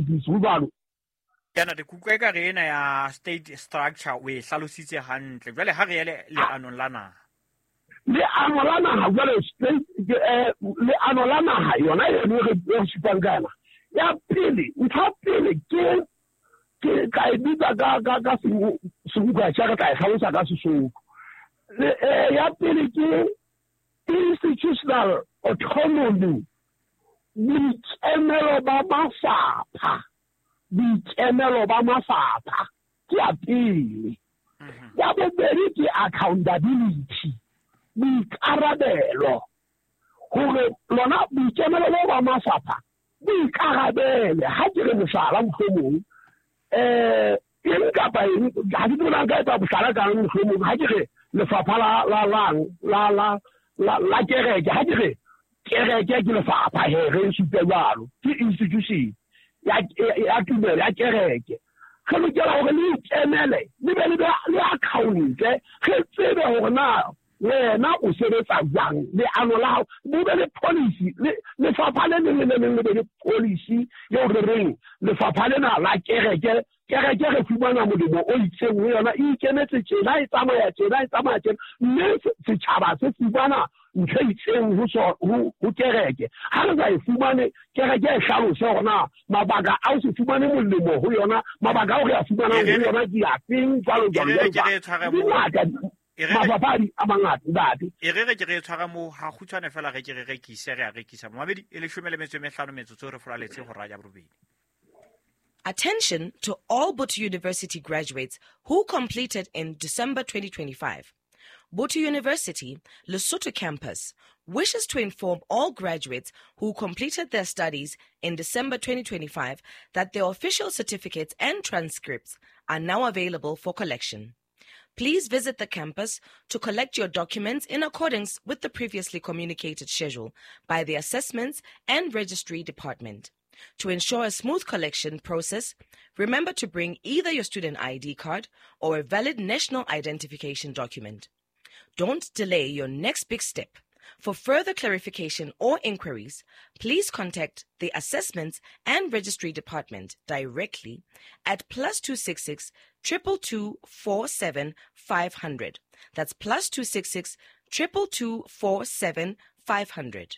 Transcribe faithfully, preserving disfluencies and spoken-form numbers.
ho jwalo. Yana re kutlwa e ka re ena ya state structure o e hlalositse hantle. Jwale ha re ye leanong la naha. Leano la naha jwale state leano la naha yona eno re re supang ka yona. Ya pele, ntho ya pele ke ke ka e bitsa ka ka ka sebuka tsa ka e hlalosa ka Sesotho. Ya pele ke institutional autonomy, boikemelo ba mafapha. Boikemelo ba mafapha ke ya pele. Ya bobedi ke accountability, boikarabelo. Hore lona boikemelo bo ba mafapha boikarabele. Ha ke re mohlala mohlomong, eh eng kapa eng, ha ke tsebe nka etsa mohlala kang mohlomong, ha ke re lefapha la la la la la la la kereke, ha ke re kereke ke lefapha he re supe jwalo, ke institution ya ya tumelo ya kereke. Re lokela hore le ikemele, le be le le account-e, re tsebe hore na wena o sebetsa jwang, leano la hao, bo be le policy, lefapha le leng le le leng le be le policy eo re reng lefapha lena la kereke, kereke re fumana molemo o itseng ho yona, e ikemetse tjena, e tsamaya tjena, e tsamaya tjena, mme setjhaba se fumana ntho e itseng ho ho ho kereke. Ha re sa e fumane, kereke e hlalose hore na mabaka a ho se fumane molemo ho yona, mabaka ao re a fumanang ho yona ke afeng, jwalo jwalo jwalo. Di ngata mafapha a mangata ntate. E re re ke re tshwara mo ha kgutshwane fela re ke re rekise re a rekisa. Momamedi e leshome le metso e mehlano metsotso re folaletse hora ya borobedi. Attention to all Botho University graduates who completed in December twenty twenty-five. Botho University, Lesotho campus, wishes to inform all graduates who completed their studies in December twenty twenty-five that their official certificates and transcripts are now available for collection. Please visit the campus to collect your documents in accordance with the previously communicated schedule by the Assessments and Registry Department. To ensure a smooth collection process, remember to bring either your student I D card or a valid national identification document. Don't delay your next big step. For further clarification or inquiries, please contact the Assessments and Registry Department directly at plus two six six, triple two four seven five hundred. That's plus two six six, triple two four seven five hundred.